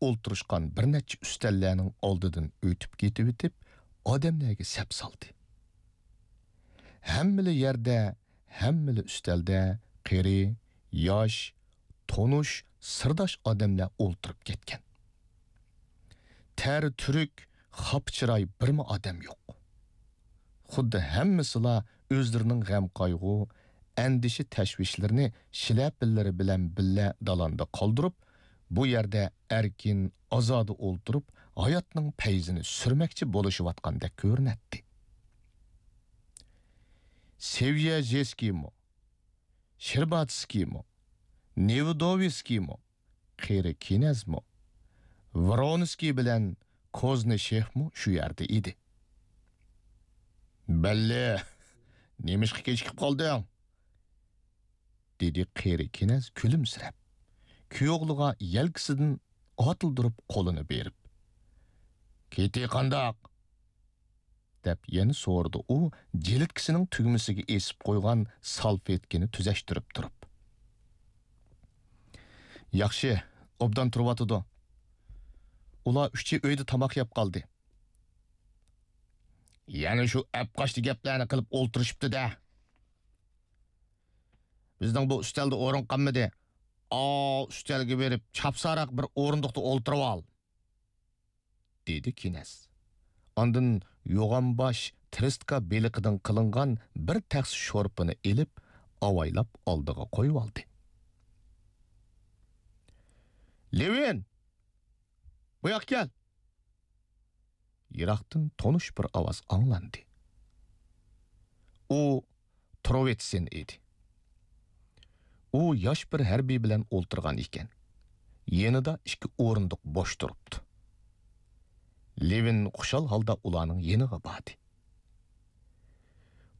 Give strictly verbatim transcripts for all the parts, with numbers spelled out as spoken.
ئولتۇرۇشقان بىر نەچچە ئۈستەللەرنىڭ ئالدىدىن ئۆتۈپ كېتىۋېتىپ، ئادەملەرگە سەپ سالدى. ھەممىلا يەردە، ھەممىلا ئۈستەلدە قېرى، ياش، تونۇش، سىرداش ئادەملەر ئولتۇرۇپ كەتكەن. تەر تۈرۈك، خاپا چىراي بىرمۇ ئادەم يوق. خۇددى ھەممىسىلا ئۆزلىرىنىڭ غەم-قايغۇ، ئەندىشە-تەشۋىشلىرىنى شىلەپىلىرى بىلەن بىللە دالاندا قالدۇرۇپ، بۇ يەردە ئەركىن، ئازادە ئولتۇرۇپ، ھاياتنىڭ پەيزىنى سۈرمەكچى بولۇشۇۋاتقاندەك كۆرۈنەتتى. سېۋيەژېسكىيمۇ، شېرباتسكىيمۇ، نېۋېدوۋسكىيمۇ، قېرى كىنەزمۇ، ۋرونسكىي بىلەن كوزنىشېفمۇ شۇ يەردە ئىدى. «بەللى، نېمىشقا كېچىكىپ قالدىڭ؟» دېدى قېرى كىنەز كۈلۈمسىرەپ، كۈيئوغلىغا يەلكىسىدىن ئاتىلدۇرۇپ قولىنى بېرىپ. «كېتى قانداق؟» دەپ يەنە سورىدى ئۇ، جىلىتكىسىنىڭ تۈگمىسىگە ئېسىپ قويغان سالفېتكىنى تۈزەشتۈرۈپ تۇرۇپ. «ياخشى، ئوبدان تۇرۇۋاتىدۇ. ئۇلار ئۈچى ئۆيدە تاماق يەپ قالدى.» «يەنە شۇ ئەپقاچتى گەپلەرنى قىلىپ ئولتۇرۇشۇپتۇ-دە. بىزنىڭ بۇ ئۈستەلدە ئورۇن قالمىدى. ئاۋۇ ئۈستەلگە بېرىپ، چاپسانراق بىر ئورۇندۇقتا ئولتۇرۇۋال.» دېدى كىنەز. ئاندىن يوغان باش ترېسكا بېلىقىدىن قىلىنغان بىر تەخسە شورپىنى ئېلىپ، ئاۋايلاپ ئالدىغا قويۇۋالدى. «لېۋىن! بۇ ياققا كەل!» يىراقتىن تونۇش بىر ئاۋاز ئاڭلاندى. ئۇ تروۋېتسېن ئىدى. ئۇ ياش بىر ھەربىي بىلەن ئولتۇرغان ئىكەن. يېنىدا ئىككى ئورۇندۇق بوش تۇرۇپتۇ. لېۋىن خۇشال ھالدا ئۇلارنىڭ يېنىغا باردى.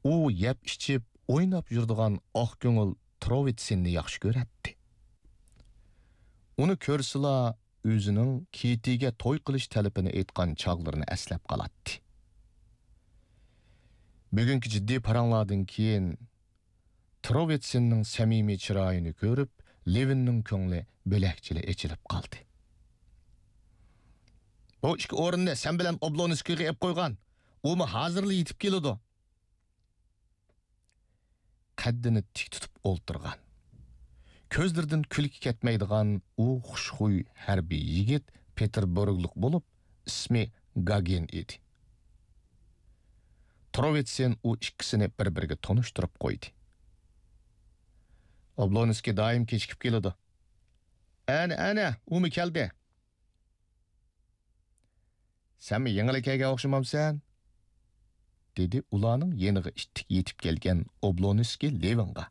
ئۇ يەپ-ئىچىپ، ئويناپ يۈرىدىغان ئاق كۆڭۈل تروۋېتسېننى ياخشى كۆرەتتى. ئۇنى كۆرسىلا، ئۆزىنىڭ كېتىگە توي قىلىش تەلىپىنى ئېيتقان چاغلىرىنى ئەسلەپ قالاتتى. بۈگۈنكى جىددىي پاراڭلاردىن كېيىن، تروۋېتسېننىڭ سەمىمىي چىرايىنى كۆرۈپ، لېۋىننىڭ كۆڭلى بۆلەكچىلا ئېچىلىپ قالدى. «بۇ ئىككى ئورۇننى سەن بىلەن ئوبلونسكىيغا ئېلىپ قويغان. ئۇمۇ ھازىرلا يېتىپ كېلىدۇ.» قەددىنى تىك تۇتۇپ ئولتۇرغان، كۆزلىرىدىن كۈلكە كەتمەيدىغان ئۇ خۇشخۇي ھەربىي يىگىت پېتېربۇرگلۇق بولۇپ، ئىسمى گاگىن ئىدى. تروۋېتسېن ئۇ ئىككىسىنى بىر-بىرىگە تونۇشتۇرۇپ قويدى. «ئوبلونسكىي دائىم كېچىكىپ كېلىدۇ.» «ئەنە، ئەنە، ئۇمۇ كەلدى.» «سەنمۇ يېڭىلا كەلگەن ئوخشىمامسەن؟» دېدى ئۇلارنىڭ يېنىغا ئىتتىك يېتىپ كەلگەن ئوبلونسكىي لېۋىنغا.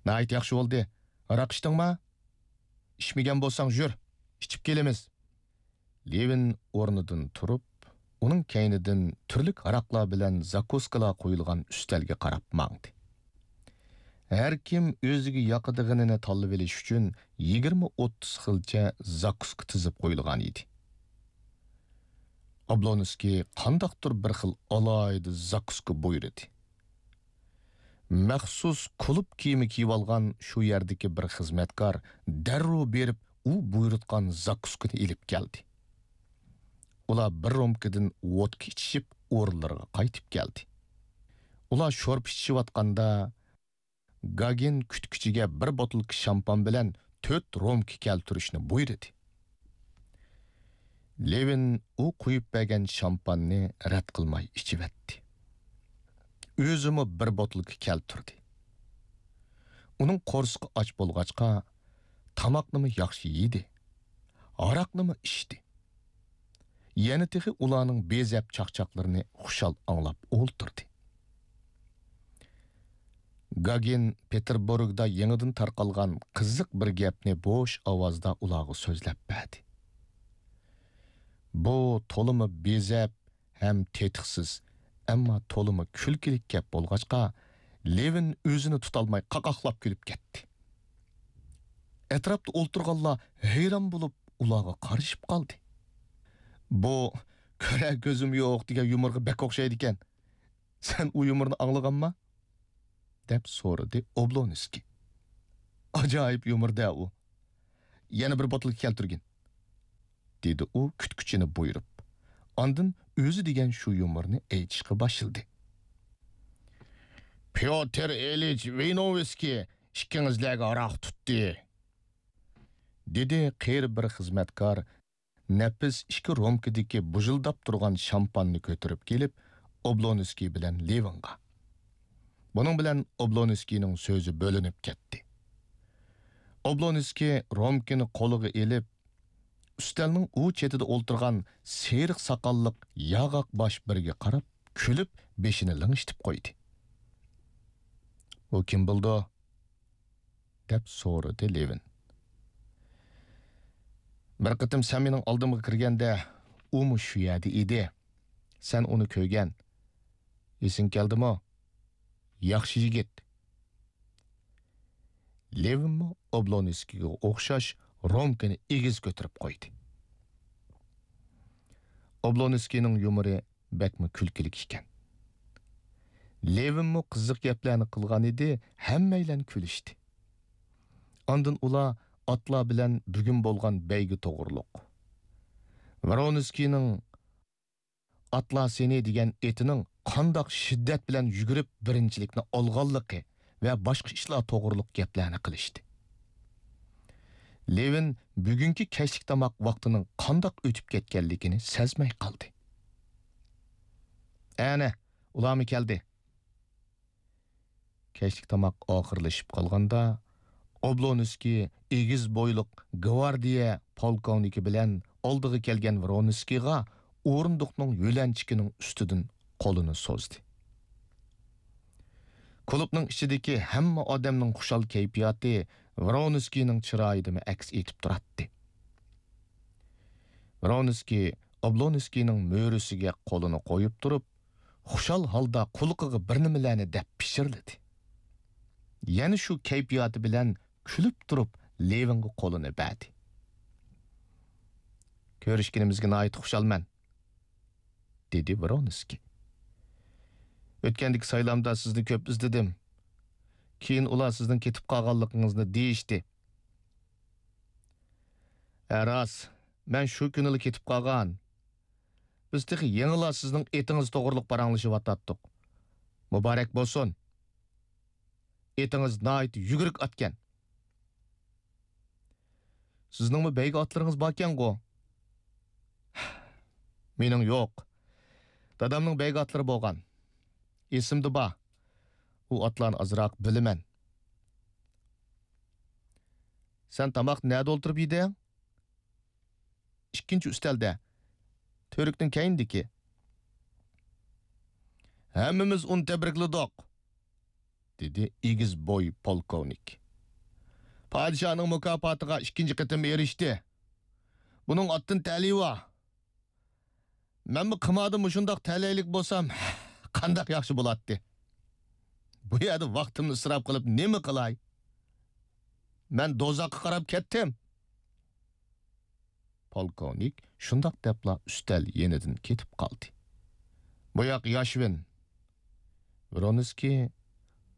«ناھايىتى ياخشى بولدى. ھاراق ئىچتىڭما؟ ئىچمىگەن بولساڭ يۈر، ئىچىپ كېلىمىز.» لېۋىن ئورنىدىن تۇرۇپ، ئۇنىڭ كەينىدىن تۈرلۈك ھاراقلار بىلەن زاكۇسكىلار قويۇلغان ئۈستەلگە قاراپ ماڭدى. ھەر كىم ئۆزىگە ياقىدىغىنىنى تاللىۋېلىش ئۈچۈن يىگىرمە ئوتتۇز خىلچە زاكۇسكا تىزىپ قويۇلغان ئىدى. ئابلونسكىي قانداقتۇر بىر خىل ئالاھىدە زاكۇسكا بۇيرۇدى. مەخسۇس كۇلۇب كىيىمى كىيىۋالغان شۇ يەردىكى بىر خىزمەتكار دەررۇ بېرىپ ئۇ بۇيرۇتقان زاكۇسكىنى ئېلىپ كەلدى. ئۇلار بىر رومكىدىن ۋودكا ئىچىشىپ، ئورۇنلىرىغا قايتىپ كەلدى. ئۇلار شورپا ئىچىشىۋاتقاندا، گاگىن كۈتكۈچىگە بىر بوتۇلكا شامپان بىلەن تۆت رومكا كەلتۈرۈشنى بۇيرۇدى. لېۋىن ئۇ قۇيۇپ بەرگەن شامپاننى رەت قىلماي ئىچىۋەتتى. ئۆزىمۇ بىر بوتۇلكا كەلتۈردى. ئۇنىڭ قورسىقى ئاچ بولغاچقا، تاماقنىمۇ ياخشى يېدى، ھاراقنىمۇ ئىچتى. يەنە تېخى ئۇلارنىڭ بېزەپ چاقچاقلىرىنى خۇشال ئاڭلاپ ئولتۇردى. گاگىن پېتېربۇرگدا يېڭىدىن تارقالغان قىزىق بىر گەپنى بوش ئاۋازدا ئۇلارغا سۆزلەپ بەردى. بۇ تولىمۇ بېزەپ ھەم تېتىقسىز، ئەمما تولىمۇ كۈلكىلىك گەپ بولغاچقا، لېۋىن ئۆزىنى تۇتالماي قاقاقلاپ كۈلۈپ كەتتى. ئەتراپتا ئولتۇرغانلار ھەيران بولۇپ ئۇلارغا قارىشىپ قالدى. «بۇ كۆرەر كۆزۈم يوق دېگەن يۇمۇرغا بەك ئوخشايدىكەن. سەن ئۇ يۇمۇرنى ئاڭلىغانما؟» دەپ سورىدى ئوبلونسكىي. «ئاجايىپ يۇمۇر-دە ئۇ. يەنە بىر بوتۇلكا كەلتۈرگىن.» دېدى ئۇ كۈتكۈچىنى بۇيرۇپ. ئاندىن ئۆزى دېگەن شۇ يۇمۇرنى ئېيتىشقا باشلىدى. پيوتىر ئىلىچ ۋىنوۋسكىي ئىككىڭىزلەرگە ھاراق تۇتتى، دېدى قېرى بىر خىزمەتكار نەپىس ئىككى رومكىدىكى بۇژۇلداپ تۇرغان شامپاننى كۆتۈرۈپ كېلىپ، ئوبلونسكىي بىلەن لېۋىنغا. بۇنىڭ بىلەن ئوبلونسكىينىڭ سۆزى بۆلۈنۈپ كەتتى. ئوبلونسكىي رومكىنى قولىغا ئېلىپ، ئۈستەلنىڭ ئۇ چېتىدە ئولتۇرغان سېرىق ساقاللىق ياغاق باش بىرىگە قاراپ، كۈلۈپ، بېشىنى لىڭشىتىپ قويدى. ئۇ كىم بولىدۇ؟ دەپ سورىدى لېۋىن. بىر قېتىم سەن مېنىڭ ئالدىمغا كىرگەندە، ئۇمۇ شۇ يەردە ئىدى. سەن ئۇنى كۆرگەن. ئېسىڭگە كەلدىمۇ؟ ياخشى يىگىت. لېۋىنمۇ ئوبلونسكىيغا ئوخشاش رومكىنى ئېگىز كۆتۈرۈپ قويدى. ئوبلونسكىينىڭ يۇمۇرى بەكمۇ كۈلكىلىك ئىكەن. لېۋىنمۇ قىزىق گەپلەرنى قىلغان ئىدى، ھەممەيلەن كۈلۈشتى. ئاندىن ئۇلار ئاتلار بىلەن بۈگۈن بولغان بەيگە توغرۇلۇق، ۋرونسكىينىڭ ئاتلار سېنى دېگەن ئېتىنىڭ قانداق شىددەت بىلەن يۈگۈرۈپ بىرىنچىلىكنى ئالغانلىقى ۋە باشقا ئىشلار توغرۇلۇق گەپلەرنى قىلىشتى. لېۋىن بۈگۈنكى كەچلىك تاماق ۋاقتىنىڭ قانداق ئۆتۈپ كەتكەنلىكىنى سەزمەي قالدى. ئەنە، ئۇلارمۇ كەلدى. كەچلىك تاماق ئاخىرلىشىپ قالغاندا، ئوبلونسكىي ئېگىز بويلۇق گۋاردىيە پولكوۋنىكى بىلەن ئالدىغا كەلگەن ۋرونسكىيغا ئورۇندۇقنىڭ يۆلەنچۈكىنىڭ ئۈستىدىن قولىنى سوزدى. كۇلۇبنىڭ ئىچىدىكى ھەممە ئادەمنىڭ خۇشال كەيپىياتى ۋرونسكىينىڭ چىرايىدىمۇ ئەكس ئېتىپ تۇراتتى. ۋرونسكىي ئوبلونسكىينىڭ مۈرىسىگە قولىنى قويۇپ تۇرۇپ، خۇشال ھالدا قۇلىقىغا بىر نېمىلەرنى دەپ پىچىرلىدى. يەنە شۇ كەيپىياتى بىلەن كۈلۈپ تۇرۇپ لېۋىنغا قولىنى بەردى. كۆرۈشكىنىمىزگە ناھايىتى خۇشالمەن، دېدى ۋرونسكىي. ئۆتكەندىكى سايلامدا سىزنى كۆپ ئىزدىدىم. كېيىن ئۇلار سىزنىڭ كېتىپ قالغانلىقىڭىزنى دېيىشتى. ھە، راست، مەن شۇ كۈنىلا كېتىپ قالغان. بىز تېخى يېڭىلا سىزنىڭ ئېتىڭىز توغرۇلۇق پاراڭلىشىۋاتاتتۇق. مۇبارەك بولسۇن. ئېتىڭىز ناھايىتى يۈگۈرۈك ئاتكەن. سىزنىڭمۇ بەيگە ئاتلىرىڭىز باركەنغۇ؟ مېنىڭ يوق. دادامنىڭ بەيگە ئاتلىرى بولغان. ئېسىمدە بار. ئۇ ئاتلارنى ئازراق بىلىمەن. سەن تاماقنى نەدە ئولتۇرۇپ يېدىڭ؟ ئىككىنچى ئۈستەلدە. تۈۋرۈكنىڭ كەينىدىكى. ھەممىمىز ئۇنى تەبرىكلىدۇق، دېدى ئېگىز بوي پولكوۋنىك. پادىشاھنىڭ مۇكاپاتىغا ئىككىنچى قېتىم ئېرىشتى. بۇنىڭ ئاتتىن تەلىيى بار. مەنمۇ قىماردا مۇشۇنداق تەلەيلىك بولسام، قانداق ياخشى بولاتتى. بۇ يەردە ۋاقتىمنى ئىسراپ قىلىپ نېمە قىلاي؟ مەن دوزاخقا قاراپ كەتتىم. پولكوۋنىك شۇنداق دەپلا ئۈستەل يېنىدىن كېتىپ قالدى. بۇ ياق ياشۋىن. ۋرونسكىي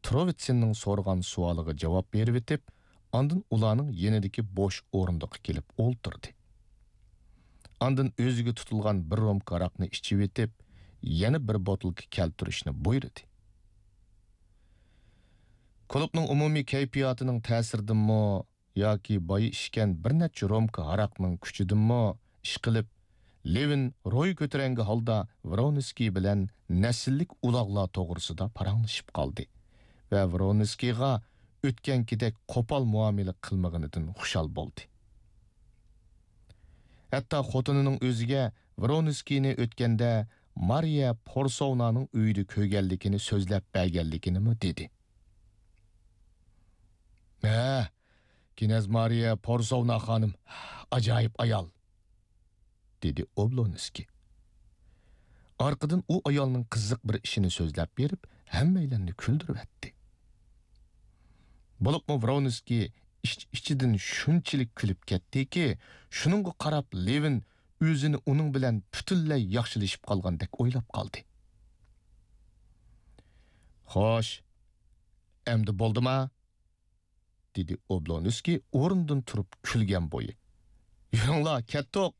تروۋىتسىننىڭ سورىغان سوئالىغا جاۋاب بېرىۋېتىپ، ئاندىن ئۇلارنىڭ يېنىدىكى بوش ئورۇندۇققا كېلىپ ئولتۇردى. ئاندىن ئۆزىگە تۇتۇلغان بىر رومكا ھاراقنى ئىچىۋېتىپ، يەنە بىر بوتۇلكا كەلتۈرۈشنى بۇيرۇدى. كۇلۇبنىڭ ئومۇمىي كەيپىياتىنىڭ تەسىرىدىنمۇ ياكى بايا ئىچكەن بىر نەچچە رومكا ھاراقنىڭ كۈچىدىنمۇ ئىشقىلىپ، لېۋىن روھى كۆتۈرەڭگۈ ھالدا ۋرونسكىي بىلەن نەسىللىك ئۇلاغلار توغرىسىدا پاراڭلىشىپ قالدى ۋە ۋرونسكىيغا ئۆتكەنكىدەك قوپال مۇئامىلە قىلمىغىنىدىن خۇشال بولدى. ھەتتا خوتۇنىنىڭ ئۆزىگە ۋرونسكىينى ئۆتكەندە مارىيە پورسوۋنانىڭ ئۆيىدە كۆرگەنلىكىنى سۆزلەپ بەرگەنلىكىنىمۇ دېدى. ھە، كىنەز مارىيە پورسوۋنا خانىم ئاجايىپ ئايال، دېدى ئوبلونسكىي. ئارقىدىن ئۇ ئايالنىڭ قىزىق بىر ئىشىنى سۆزلەپ بېرىپ، ھەممەيلەننى كۈلدۈرۈۋەتتى. بولۇپمۇ ۋرونسكىي ئىچ-ئىچىدىن شۇنچىلىك كۈلۈپ كەتتىكى، شۇنىڭغا قاراپ لېۋىن ئۆزىنى ئۇنىڭ بىلەن پۈتۈنلەي ياخشىلىشىپ قالغاندەك ئويلاپ قالدى. خوش، ئەمدى بولدىما؟ دېدى ئوبلونسكىي ئورنىدىن تۇرۇپ كۈلگەن بويى. يۈرۈڭلار، كەتتۇق،